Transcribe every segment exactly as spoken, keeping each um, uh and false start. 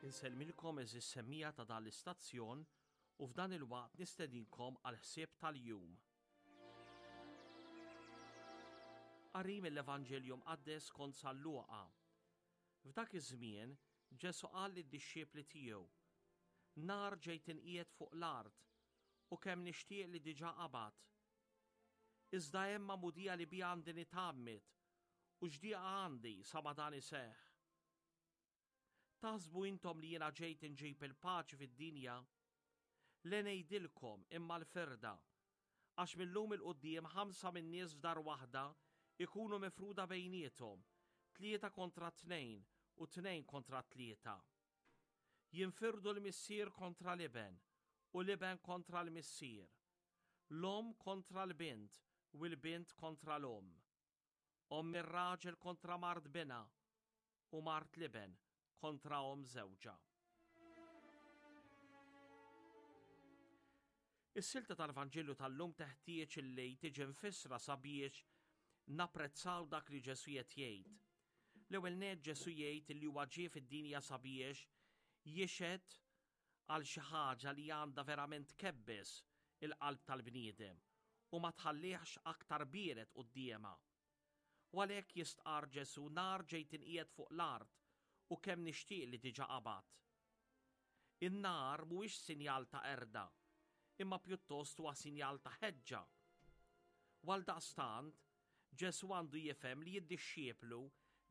Insellmilkom għeżież semmiegħa ta' dan l-istazzjon u f'dan il-waqt nistedinkom għal ħsieb tal-jum. Qari mill-Evanġelju Mqaddes skont San Luqa. F'dak iż-żmien Ġesù qal lid-dixxipli tiegħu, Nar ġejt inqiegħed fuq l-art u kemm nixtieq li diġà qabad. Iżda hemm magħmudija li biha għandi nitgħammed u x'dieqa għandi sa ma dan iseħħ. Taħsbu intom li jiena ġejt inġib il-paċi fid-dinja? Le ngħidilkom imma l-firda. Għax mil-lum 'il quddiem ħamsa min-nies f'dar waħda ikunu mifruda bejniethom, tlieta kontra tnejn u tnejn kontra tlieta. Jinfirdu l-missier kontra l-iben u l-iben kontra l-missier, l-omm kontra l-bint u l-bint kontra l-omm. Omm ir-raġel kontra mart binha u mart l-iben kontra omm żewġha. Is-silta tal-Vanġelu tal-lum teħtieġ illi tiġi mfissra sabiex napprezzaw dak li Ġesù qed jgħid. L-ewwel nett Ġesù jgħid li huwa ġie fid-dinja sabiex jixhed għal xi ħaġa li għandha verament tkebbes il-qalb tal-bniedem u ma tħallihx aktar biered quddiemha. U għalhekk jistqarr Ġesù nar ġejt inqiegħed fuq l-art u kemm nixtieq li diġà qabad. In-nar mhuwiex sinjal ta' qerda, imma pjuttost huwa sinjal ta' ħeġġa. U għaldaqstant, Ġesù għandu jifhem li d-dixxiplu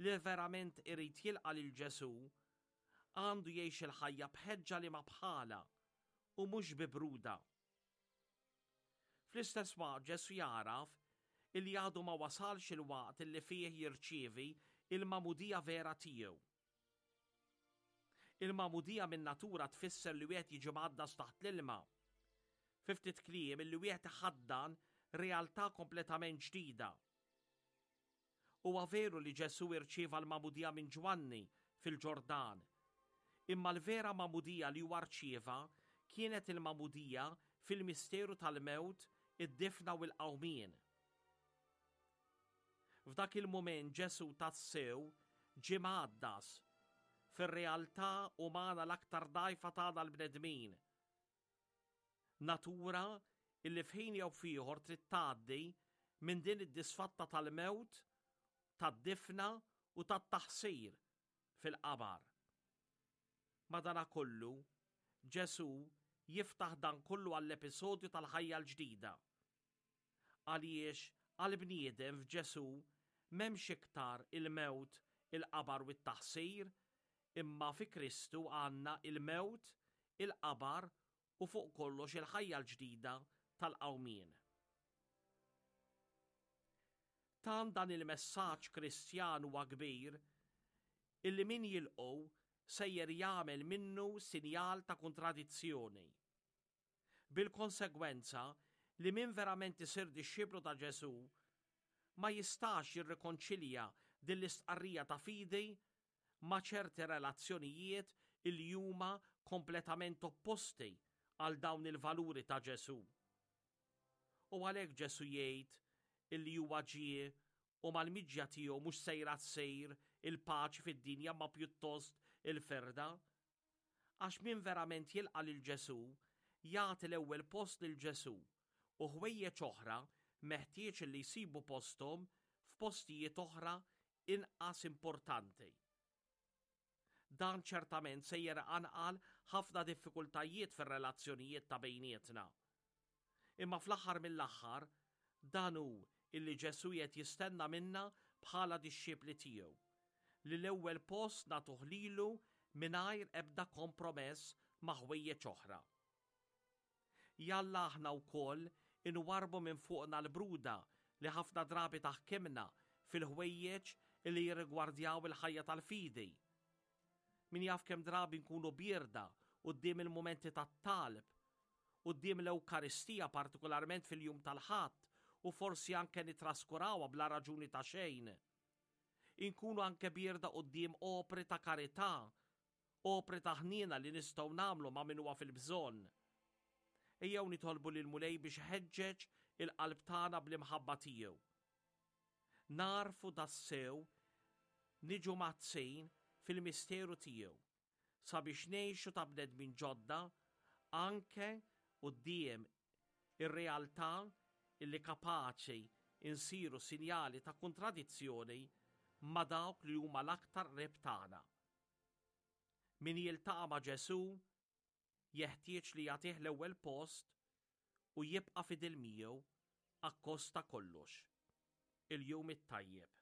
li verament irid jilqa' lil Ġesù għandu jgħix il-ħajja b'ħeġġa li ma bħalha u mhux bi bruda. Fl-istess waqt Ġesù jagħraf illi għadu ma wasalx il-waqt illi fih jirċievi il-magħmudija vera tiegħu. Il-magħmudija min-natura tfisser li wieħed jiġi mgħaddas taħt l-ilma. Fi ftit kliem illi wieħed iħaddan realtà kompletament ġdida. Huwa veru li Ġesù irċieva l-magħmudija minn Ġwanni fil-Ġordan, imma l-vera magħmudija li huwa rċieva kienet il-magħmudija fil-misteru tal-mewt, id-difna u l-qawmien. F'dak il-mument Ġesù tassew ġie mgħaddas fir-realtà umana l-aktar dgħajfa tagħna l-bnedmin. Natura illi f'ħin jew f'ieħor trid tgħaddi minn din id-disfatta tal-mewt, tad-difna u tat-taħsir fil-qabar. Madanakollu, Ġesù jiftaħ dan kollu għall-episodju tal-ħajja l-ġdida. Għaliex għall-bniedem f'Ġesù m'hemmx iktar il-mewt, il-qabar u t-taħsir, imma fi Kristu għandna il-mewt, il-qabar u fuq kollox il-ħajja l-ġdida tal-qawmien. Tant dan il-messaġġ Kristjan huwa kbir illi min jilqgħu sejjer jagħmel minnu sinjal ta' kontradizzjoni. Bil-konsegwenza li min verament isir dixxiplu ta' Ġesù ma jistax jirrikonċilja din l-istqarrija ta' fidi ma' ċerti relazzjonijiet illi huma kompletament opposti għal dawn il-valuri ta' Ġesù. U għalhekk Ġesù jgħid illi huwa ġie u mal-miġja tiegħu mhux sejra ssir il-paċi fid-dinja ma pjuttost il-firda. Għax min verament jilqa' lil Ġesù jagħti l-ewwel post lil Ġesù u ħwejjeġ oħra meħtieġ li jsibu posthom f'postijiet oħra inqas importanti. Dan ċertament sejjer iqanqal ħafna diffikultajiet fir-relazzjonijiet ta' bejnietna. Imma fl-aħħar mill-aħħar, dan hu illi Ġesù qed jistenna minna bħala dixxipli tiegħu, li l-ewwel post nagħtuh lilu mingħajr ebda kompromess ma' ħwejjeġ oħra. Jalla aħna wkoll inwarrbu minn fuqna l-bruda li ħafna drabi taħkimna fil-ħwejjeġ li jirrigwardjaw il-ħajja tal-fidi. Min jaf kemm drabi nkunu bierda quddiem il-mumenti tat-talb, quddiem l-Ewkaristija partikolarment fil-jum tal-Ħadd u forsi anke nitraskurawha bla raġuni ta' xejn. Inkunu anke bierda quddiem opri ta' karità, opri ta' ħniena li nistgħu nagħmlu ma' min huwa fil-bżonn. Ejjew nitolbu lill-Mulej biex iħeġġeġ il-qalb tagħna bl-imħabba tiegħu. Narfu tassew niġu mgħaddsin fil-misteru tiegħu sabiex ngħixu ta' bnedmin ġodda anke quddiem ir-realtà illi kapaċi insiru sinjali ta' kontradizzjoni ma' dawk li huma l-aktar qrib tagħna. Min jiltaqa' ma' Ġesù jeħtieġ li jagħtih l-ewwel post u jibqa' fidil miegħu akkost ta' kollox. Il-jum it-tajjeb.